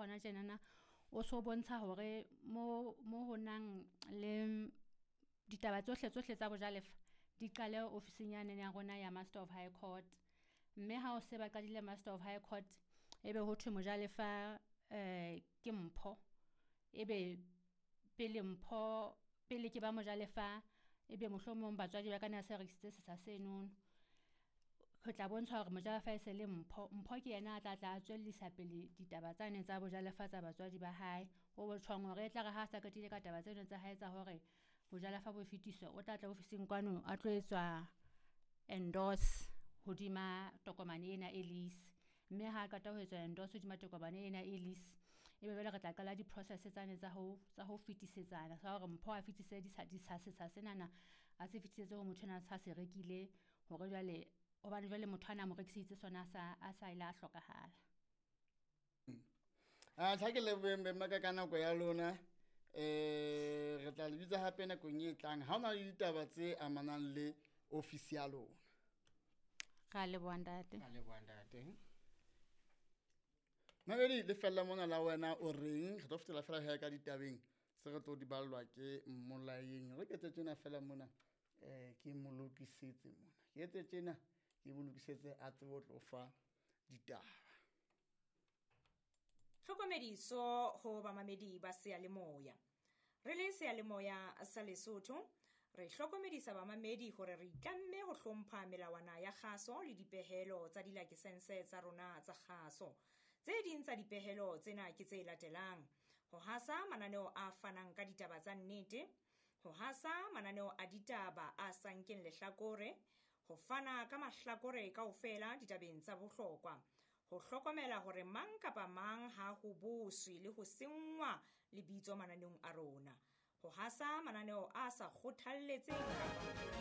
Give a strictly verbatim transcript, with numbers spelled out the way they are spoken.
hona tjenana o so bontsha hore mo mo ho nang le ditaba tsohle tsohle tsa bojalefa di qale ofising yane ya rona ya Master of High Court. Mme ha o se ba qadile Master of High Court, ebe ho thwe mojalefa um ke Mpho. Ebe pele Mpho pele ke ba mojalefa, ebe mohlomong batswadi ba ka ne se rekisitse setsha senono. Ho tla bontshwa hore mojalefa e se le Mpho. Mpho ke yena a tla tla a tswellisa pele ditaba tsane tsa bojalefa tsa batswadi ba hae. Ho botjhong hore e tla re ha sa qetile ka taba tseno tsa hae tsa hore bojalefa bo fetiswe, o tla tla ofising kwano a tlo etswa endorse hodima tokomane ena e lease. Mme ha qeta ho etswa endorse hodima tokomane ena e lease, ebe jwale re tla qala di-process tsane tsa ho tsa ho fetisetsana sa hore Mpho a fetise ditsha ditsha setsha senana a se fetisetse ho motho enwa a sa se rekile hore jwale hobane jwale motho ana a mo rekiseditse sona a sa a sa ile a hlokahala. A tla ke leboheng beng ba ka ka nako ya lona. Eh re tla le bitsa hape nakong e tlang ha hona le ditaba tse amanang le ofisi ya lona. Ra leboha ntate. Ra leboha ntate. Mabedi le fella mona la wena o reng re tlo fetela fela he ka ditabeng se re tlo di ballwa ke Mmolaeng. Re ketse tjena fela mona eh ke mo lokisetse mona. Ke etse tjena ke mo lokisetse a tsebe ho tlo fa ditaba. Tlhokomediso ho bamamedi ba seyalemoya. Re le seyalemoya sa Lesotho, re hlokomedisa bamamedi hore re itlamme ho hlompha melawana ya kgaso le dipehelo tsa dilakesense tsa rona tsa kgaso. Tse ding tsa dipehelo tsena ke tse latelang: ho hasa mananeo a fanang ka ditaba tsa nnete, ho hasa mananeo a ditaba a sa nkeng lehlakore, ho fana ka mahlakore kaofela ditabeng tsa bohlokwa, ho hlokomela hore mang kapa mang ha ho boswe le ho senngwa lebitso mananeong a rona, ho hasa mananeo a sa kgothalletseng kapa